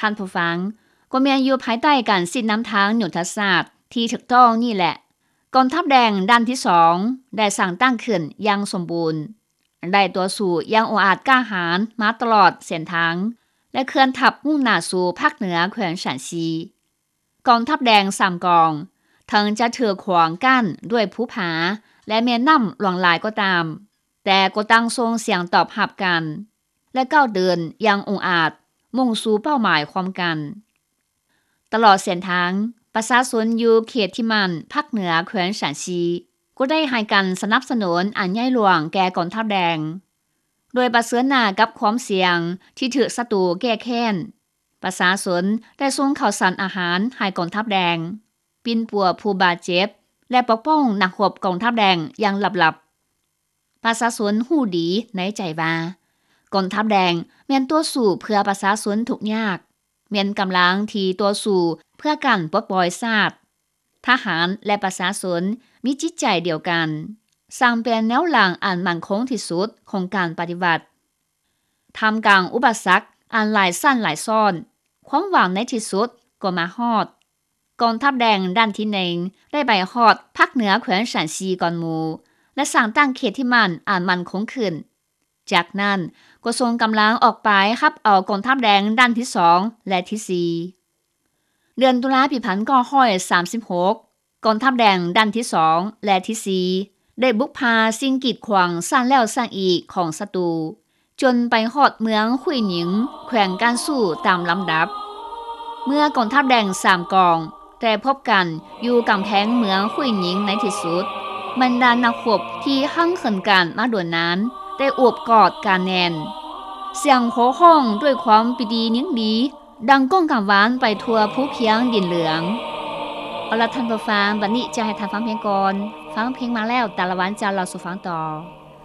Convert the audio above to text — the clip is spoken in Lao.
ທ່ານຜູ້ຟັງ, ກໍແມ່ນຢູ່ພາຍໃຕ້ການຊີ້ນຳທາງຍຸດທະສາດທີ່ຖືກຕ້ອງນີ້ແຫຼະ, ກອງທັບແດງດ້ານທີສອງໄດ້ສ້າງຕັ້ງຂຶ້ນຢ່າງສົມບູນ, ໄດ້ຕໍ່ສູ້ຢ່າງອົງອາດກ້າຫານມາຕະຫຼອດເສັ້ນທາງ ແລະ ເຄື່ອນທັບມຸ່ງໜ້າສູ່ພາກເໜືອແຂວງຊານຊີ. ກອງທັບແດງສາມກອງ ເຖິງຈະຖືກຂວາງກັ້ນດ້ວຍພູຜາ ແລະ ແມ່ນ້ຳຫຼວງຫຼາຍກໍຕາມ, ແຕ່ກໍຕ່າງສົ່ງສຽງຕອບຮັບກັນ ແລະ ກ້າວເດີນຢ່າງອົງອາດ ມຸ່ງສູ່ເປົ້າໝາຍຮ່ວມກັນ. ຕະຫຼອດເສັ້ນທາງ, ປະຊາຊົນຢູ່ເຂດທີ່ໝັ້ນພາກເໜືອແຂວງຊານຊີ ກໍໄດ້ໃຫ້ການສະໜັບສະໜູນອັນໃຫຍ່ຫຼວງແກ່ກອງທັບແດງ, ໂດຍປະເຊີນໜ້າກັບຄວາມສ່ຽງທີ່ຖືກສັດຕູແກ້ແຄ້ນ. ປະຊາຊົນໄດ້ສົ່ງເຂົ້າສານອາຫານໃຫ້ກອງທັບແດງ, ປິ່ນປົວຜູ້ບາດເຈັບ ແລະ ປົກປ້ອງນັກຮົບກອງທັບແດງຢ່າງລັບໆ. ປະຊາຊົນຮູ້ດີໃນໃຈວ່າ ກອງທັບແດງແມ່ນຕໍ່ສູ້ເພື່ອປະຊາຊົນທຸກຍາກ, ແມ່ນກຳລັງທີ່ຕໍ່ສູ້ເພື່ອການປົດປ່ອຍຊາດ. ທະຫານ ແລະ ປະຊາຊົນມີຈິດໃຈດຽວກັນ, ສ້າງເປັນແນວຫຼັງອັນໝັ້ນຄົງທີ່ສຸດຂອງການປະຕິວັດ. ທ່າມກາງອຸປະສັກອັນຫຼາຍຊັ້ນຫຼາຍຊ້ອນ, ຄວາມຫວັງໃນທີ່ສຸດກໍມາຮອດ. ກອງທັບແດງດ້ານທີໜຶ່ງໄດ້ໄປຮອດພາກເໜືອແຂວງຊານຊີກ່ອນໝູ່ ແລະ ສ້າງຕັ້ງເຂດທີ່ໝັ້ນອັນໝັ້ນຄົງຂຶ້ນ. ຈາກນັ້ນກໍສົ່ງກຳລັງອອກໄປຮັບເອົາກອງທັບແດງດ້ານທີສອງ ແລະ ທີສີ່. ເດືອນຕຸລາປີພັນເກົ້າຮ້ອຍສາມສິບຫົກ ກອງທັບແດງດ້ານທີສອງ ແລະ ທີສີ່ ໄດ້ບຸກຜ່າສິ່ງກີດຂວາງຊ້ຳແລ້ວຊ້ຳອີກຂອງສັດຕູ ຈົນໄປຮອດເມືອງຫຸຍໜິງ ແຂວງການຊູ່ຕາມລຳດັບ. ເມື່ອກອງທັບແດງສາມກອງໄດ້ພົບກັນຢູ່ກຳແພງເມືອງຫຸຍໜິງໃນທີ່ສຸດ, ບັນດານັກຮົບທີ່ຮັ່ງເຂີນກັນມາດົນນານໄດ້ໂອບກອດກັນແໜ້ນ. ສຽງໂຫ່ຮ້ອງດ້ວຍຄວາມປີຕິຍິນດີ ດັງກ້ອງກັງວານໄປທົ່ວພູພຽງດິນເຫຼືອງ. ເອົາລະທ່ານຜູ້ຟັງ, ບັດນີ້ຈະໃຫ້ທ່ານຟັງເພງກ່ອນ. ຟັງເພງມາແລ້ວ, ຕາລະວັນຈະເລົ່າສູ່ຟັງຕໍ່.